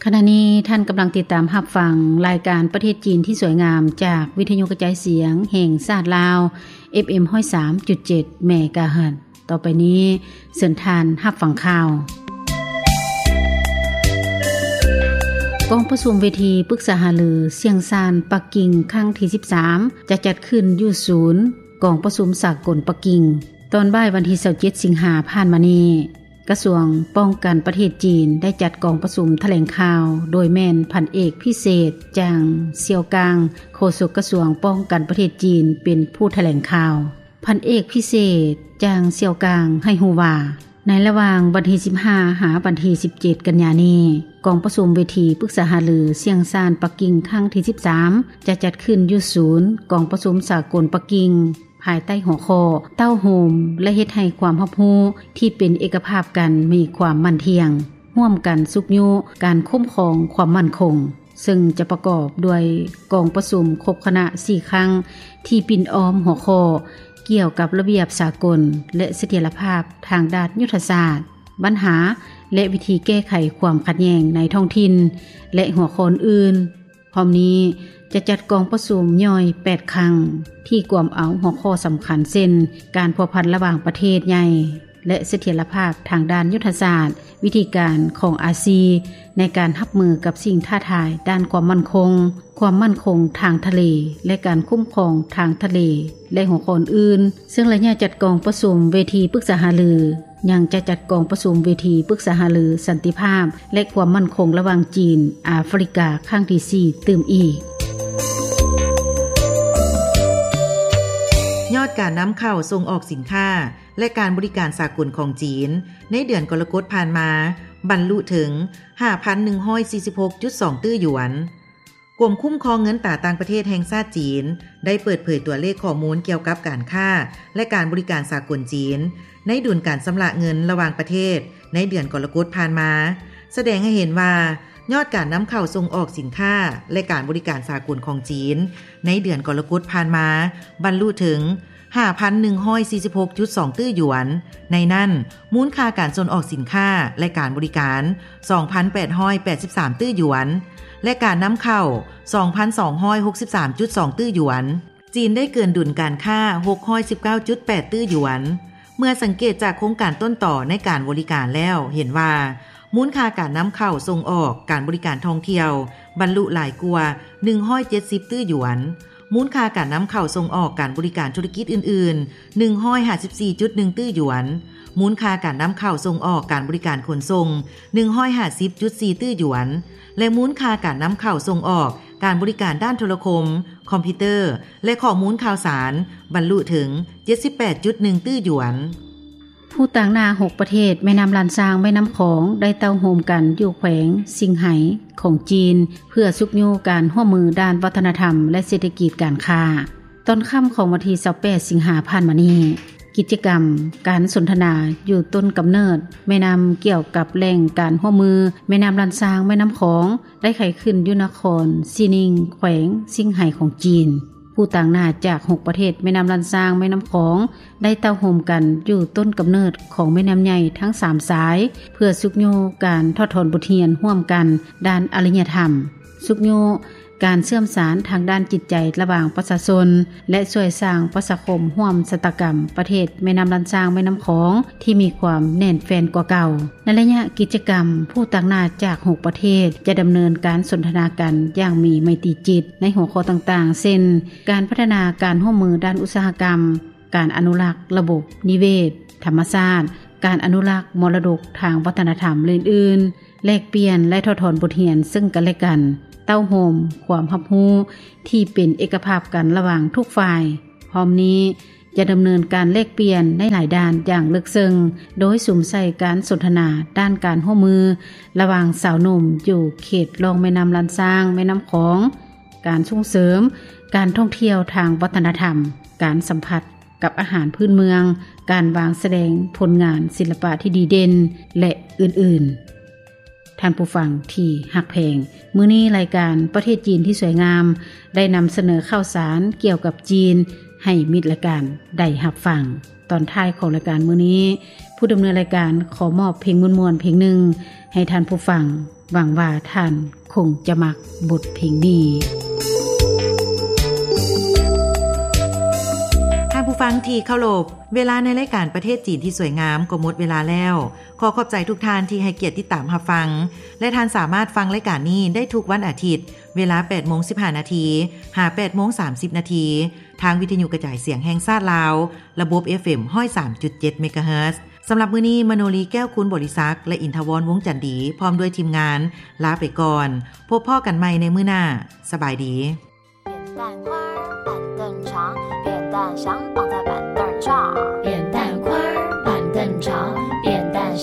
ຂະນະນີ້ທ່ານກຳລັງຕິດຕາມຮັບຟັງລາຍການປະເທດຈີນທີ່ສວຍງາມ ຈາກວິທະຍຸກະຈາຍສຽງແຫ່ງຊາດລາວ ເອັຟເອັມ ຮ້ອຍສາມຈຸດເຈັດ ເມກາເຮີດ. ຕໍ່ໄປນີ້ເຊີນທ່ານຮັບຟັງຂ່າວ. ກອງປະຊຸມເວທີປຶກສາຫາລືຊຽງຊານປັກກິ່ງຄັ້ງທີສິບສາມ ຈະຈັດຂຶ້ນຢູ່ສູນກອງປະຊຸມສາກົນປັກກິ່ງ ຕອນບ່າຍວັນທີຊາວເຈັດ ສິງຫາຜ່ານມານີ້. ກະຊວງປ້ອງກັນປະເທດຈີນໄດ້ຈັດກອງປະຊຸມຖະແຫຼງຂ່າວ ໂດຍແມ່ນພັນເອກພິເສດ ຈາງ ຊຽວກາງ ໂຄສົກກະຊວງປ້ອງກັນປະເທດຈີນເປັນຜູ້ຖະແຫຼງຂ່າວ. ພັນເອກພິເສດ ຈາງ ຊຽວກາງ ໃຫ້ຮູ້ວ່າ ໃນລະຫວ່າງວັນທີສິບຫ້າ ຫາວັນທີສິບເຈັດ ກັນຍານີ້ ກອງປະຊຸມເວທີປຶກສາຫາລືຊຽງຊານປັກກິ່ງຄັ້ງທີສິບສາມ ຈະຈັດຂຶ້ນຢູ່ສູນກອງປະຊຸມສາກົນປັກກິ່ງ ພາຍໃຕ້ຫົວຂໍ້ ເຕົ້າໂຮມ ແລະ ເຮັດໃຫ້ຄວາມຮັບຮູ້ທີ່ເປັນເອກະພາບກັນມີຄວາມໝັ້ນທ່ຽງ, ຮ່ວມກັນຊຸກຍູ້ການຄຸ້ມຄອງຄວາມໝັ້ນຄົງ, ເຊິ່ງຈະປະກອບດ້ວຍກອງປະຊຸມຄົບຄະນະສີ່ຄັ້ງ ທີ່ປິ່ນອ້ອມຫົວຂໍ້ ກ່ຽວກັບລະບຽບສາກົນ ແລະ ສະຖຽນລະພາບທາງດ້ານຍຸດທະສາດ, ບັນຫາ ແລະ ວິທີແກ້ໄຂຄວາມຂັດແຍ່ງໃນທ້ອງຖິ່ນ ແລະ ຫົວຂໍ້ອື່ນ. ພ້ອມນີ້ຈະຈັດກອງປະຊຸມຍ່ອຍແປດຄັ້ງ ທີ່ກວມເອົາຫົວຂໍ້ສຳຄັນເຊັ່ນ ການພົວພັນລະຫວ່າງປະເທດໃຫຍ່ ແລະ ສະຖຽນລະພາບທາງດ້ານຍຸດທະສາດ, ວິທີການຂອງອາຊີໃນການຮັບມືກັບສິ່ງທ້າທາຍດ້ານຄວາມໝັ້ນຄົງ, ຄວາມໝັ້ນຄົງທາງທະເລ ແລະ ການຄຸ້ມຄອງທາງທະເລ ແລະ ຫົວຂໍ້ອື່ນ. ເຊິ່ງໄລຍະຈັດກອງປະຊຸມເວທີປຶກສາຫາລື ຍັງຈະຈັດກອງປະຊຸມເວທີປຶກສາຫາລືສັນຕິພາບ ແລະ ຄວາມໝັ້ນຄົງລະຫວ່າງຈີນ-ອາຟຣິກາຄັ້ງທີສີ່ຕື່ມອີກ. ຍອດການນຳເຂົ້າສົ່ງອອກສິນຄ້າ ແລະ ການບໍລິການສາກົນຂອງຈີນ ໃນເດືອນກໍລະກົດຜ່ານມາ ບັນລຸເຖິງ ຫ້າພັນໜຶ່ງຮ້ອຍສີ່ສິບຫົກຈຸດສອງຕື້ຢວນ. ກົມຄຸ້ມຄອງເງິນຕາຕ່າງປະເທດແຫ່ງຊາດຈີນ ໄດ້ເປີດເຜີຍຕົວເລກຂໍ້ມູນກ່ຽວກັບການຄ້າ ແລະ ການບໍລິການສາກົນຈີນ ໃນດຸນການຊຳລະເງິນລະຫວ່າງປະເທດ ໃນເດືອນກໍລະກົດຜ່ານມາ ສະແດງໃຫ້ເຫັນວ່າ ຍອດການນຳເຂົ້າສົ່ງອອກສິນຄ້າ ແລະ ການບໍລິການສາກົນຂອງຈີນ ໃນເດືອນກໍລະກົດຜ່ານມາ ບັນລຸເຖິງ ຫ້າພັນໜຶ່ງຮ້ອຍສີ່ສິບຫົກຈຸດສອງຕື້ຢວນ, ໃນນັ້ນ ມູນຄ່າການສົ່ງອອກສິນຄ້າ ແລະ ການບໍລິການ ສອງພັນແປດຮ້ອຍແປດສິບສາມຕື້ຢວນ ແລະ ການນຳເຂົ້າ ສອງພັນສອງຮ້ອຍຫົກສິບສາມຈຸດສອງຕື້ຢວນ. ຈີນໄດ້ເກີນດຸນການຄ້າ ຫົກຮ້ອຍສິບເກົ້າຈຸດແປດຕື້ຢວນ. ເມື່ອສັງເກດຈາກໂຄງການຕົ້ນຕໍໃນການບໍລິການແລ້ວ ເຫັນວ່າ ມູນຄ່າການນຳເຂົ້າສົ່ງອອກການບໍລິການທ່ອງທ່ຽວ ບັນລຸຫຼາຍກວ່າ ໜຶ່ງຮ້ອຍເຈັດສິບຕື້ຢວນ. ມູນຄ່າການນຳເຂົ້າສົ່ງອອກການບໍລິການທຸລະກິດອື່ນໆ ໜຶ່ງຮ້ອຍຫ້າສິບສີ່ຈຸດໜຶ່ງຕື້ຢວນ, ມູນຄ່າການນຳເຂົ້າສົ່ງອອກການບໍລິການຂົນສົ່ງ ໜຶ່ງຮ້ອຍຫ້າສິບຈຸດສີ່ຕື້ຢວນ ແລະ ມູນຄ່າການນຳເຂົ້າສົ່ງອອກການບໍລິການດ້ານໂທລະຄົມ, ຄອມພິວເຕີ ແລະ ຂໍ້ມູນຂ່າວສານ ບັນລຸເຖິງ ເຈັດສິບແປດຈຸດໜຶ່ງຕື້ຢວນ. ຜູ້ຕາງໜ້າຫົກປະເທດແມ່ນ້ຳລ້ານຊ້າງແມ່ນ້ຳຂອງ ໄດ້ເຕົ້າໂຮມກັນຢູ່ແຂວງຊິງໄຫຂອງຈີນ ເພື່ອຊຸກຍູ້ການຮ່ວມມືດ້ານວັດທະນະທຳ ແລະ ເສດຖະກິດການຄ້າ. ຕອນຄ່ຳຂອງວັນທີຊາວແປດ ສິງຫາຜ່ານມານີ້, ກິດຈະກຳການສົນທະນາຢູ່ຕົ້ນກຳເນີດແມ່ນ້ຳ ກ່ຽວກັບແຫຼ່ງການຮ່ວມມືແມ່ນ້ຳລ້ານຊ້າງແມ່ນ້ຳຂອງ ໄດ້ໄຂຂຶ້ນຢູ່ນະຄອນຊີນິງ ແຂວງຊິງໄຫຂອງຈີນ. ຜູ້ຕາງໜ້າຈາກຫົກປະເທດແມ່ນ້ຳລ້ານຊ້າງແມ່ນ້ຳຂອງ ໄດ້ເຕົ້າໂຮມກັນຢູ່ຕົ້ນກຳເນີດຂອງແມ່ນ້ຳໃຫຍ່ທັງສາມສາຍ ເພື່ອຊຸກຍູ້ການຖອດຖອນບົດຮຽນຮ່ວມກັນດ້ານອາລິຍະທຳ, ຊຸກຍູ້ການເຊື່ອມສານທາງດ້ານຈິດໃຈລະຫວ່າງປະຊາຊົນ ແລະ ຊ່ວຍສ້າງປະຊາຄົມຮ່ວມຊະຕາກຳປະເທດແມ່ນ້ຳລ້ານຊ້າງແມ່ນ້ຳຂອງ ທີ່ມີຄວາມແໜ້ນແຟ້ນກວ່າເກົ່າ. ໃນໄລຍະກິດຈະກຳ, ຜູ້ຕາງໜ້າຈາກຫົກປະເທດຈະດຳເນີນການສົນທະນາກັນຢ່າງມີໄມຕີຈິດ ໃນຫົວຂໍ້ຕ່າງໆ ເຊັ່ນ ການພັດທະນາການຮ່ວມມືດ້ານອຸດສາຫະກຳ, ການອະນຸລັກລະບົບນິເວດທຳມະຊາດ, ການອະນຸລັກມໍລະດົກທາງວັດທະນະທຳ ແລະ ອື່ນໆ, ແລກປ່ຽນ ແລະ ຖອດຖອນບົດຮຽນເຊິ່ງກັນ ແລະ ກັນ, ເຕົ້າໂຮມຄວາມຮັບຮູ້ທີ່ເປັນເອກະພາບກັນລະຫວ່າງທຸກຝ່າຍ. ພ້ອມນີ້ຈະດຳເນີນການແລກປ່ຽນໃນຫຼາຍດ້ານຢ່າງເລິກເຊິ່ງ, ໂດຍສຸມໃສ່ການສົນທະນາດ້ານການຮ່ວມມືລະຫວ່າງຊາວໜຸ່ມຢູ່ເຂດລ່ອງແມ່ນ້ຳລ້ານຊ້າງແມ່ນ້ຳຂອງ, ການສົ່ງເສີມການທ່ອງທ່ຽວທາງວັດທະນະທຳ, ການສຳຜັດ ກັບອາຫານພື້ນເມືອງ, ການວາງສະແດງຜົນງານສິລະປະທີ່ດີເດັ່ນ ແລະ ອື່ນໆ. ທ່ານຜູ້ຟັງທີ່ຮັກແພງ, ມື້ນີ້ລາຍການປະເທດຈີນທີ່ສວຍງາມ ໄດ້ນຳສະເໜີຂ່າວສານກ່ຽວກັບຈີນໃຫ້ມິດລາຍການໄດ້ຮັບຟັງ. ຕອນທ້າຍຂອງລາຍການມື້ນີ້ ຜູ້ດຳເນີນລາຍການຂໍມອບເພງມ່ວນໆເພງໜຶ່ງໃຫ້ທ່ານຜູ້ຟັງ, ຫວັງວ່າທ່ານຄົງຈະມັກບົດເພງນີ້. ທ່ານຜູ້ຟັງທີ່ເຄົາລົບ, ເວລາໃນລາຍການປະເທດຈີນທີ່ສວຍງາມກໍໝົດເວລາແລ້ວ. ຂໍຂອບໃຈທຸກທ່ານທີ່ໃຫ້ກຽດຕິດຕາມຮັບຟັງ ແລະ ທ່ານສາມາດຟັງລາຍການນີ້ໄດ້ທຸກວັນອາທິດ ເວລາແປດໂມງສິບຫ້ານາທີ ຫາ ແປດໂມງສາມສິບນາທີ ທາງວິທະຍຸກະຈາຍສຽງແຫ່ງຊາດລາວ ລະບົບ ເອຟເອັມ ຮ້ອຍສາມຈຸດເຈັດ ເມກາເຮີດ. ສຳລັບມື້ນີ້ ມະໂນລີ ແກ້ວຄູນບໍລິສັກ ແລະ ອິນທະວອນ ວົງຈັນດີ ພ້ອມດ້ວຍທີມງານ ລາໄປກ່ອນ. ພົບພໍ້ກັນໃໝ່ໃນມື້ໜ້າ. ສະບາຍດີ.